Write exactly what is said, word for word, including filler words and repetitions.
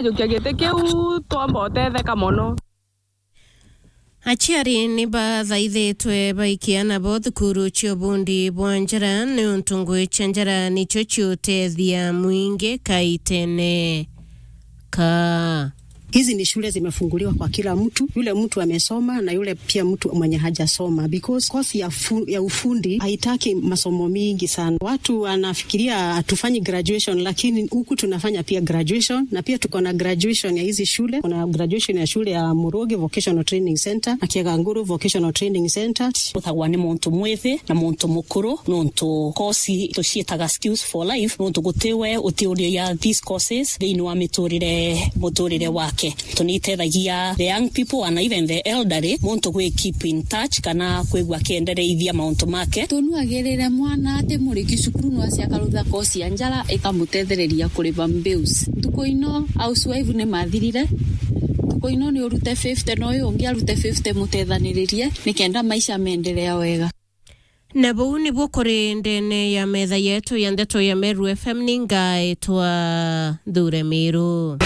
Jukia giti kiu twamba utetheka mono. Aciari ni bathaithitwe baikia nabo thukuru cia ubundi bwa njara niuntu ngugi cia njara nicio ciutethia mwingi kaitene ka. Hizi ni shule zimefunguliwa kwa kila mtu, yule mtu amesoma na yule pia mtu mwenye hajasoma, because course ya, fu, ya ufundi haitaki masomo mingi sana. Watu wanafikiria hatufanyi graduation, lakini huku tunafanya pia graduation, na pia tuko na graduation ya hizi shule. Kuna graduation ya shule ya Murugi Vocational Training Center na Kiaganguru Vocational Training Center. Uthagwa ni muntu mwithi na muntu mukuru, nontu kosi tuciitaga skills for life, nontu gutiwe utiuria these courses thiini wa miturire, muturire wake. Tunitethagia the young people and even the elderly, muntu gwi keep in touch kana kwigua akiendereithia mauntu make. Tunuagirire mwana ati muriki cukuru no aciakarutha kosi ya njara ikamutethereria kuriva bills. Ntuku ino housewife ni mathirire. Ntuku ino ni urute fifty, no uyu ungi arute fifty, mutethaniririe nikenda maisha meendelea wega. Na buu nibuo kuri ndene ya metha yetu ya ndeto ya Meru F M, ni ngaitwa Thure Miru.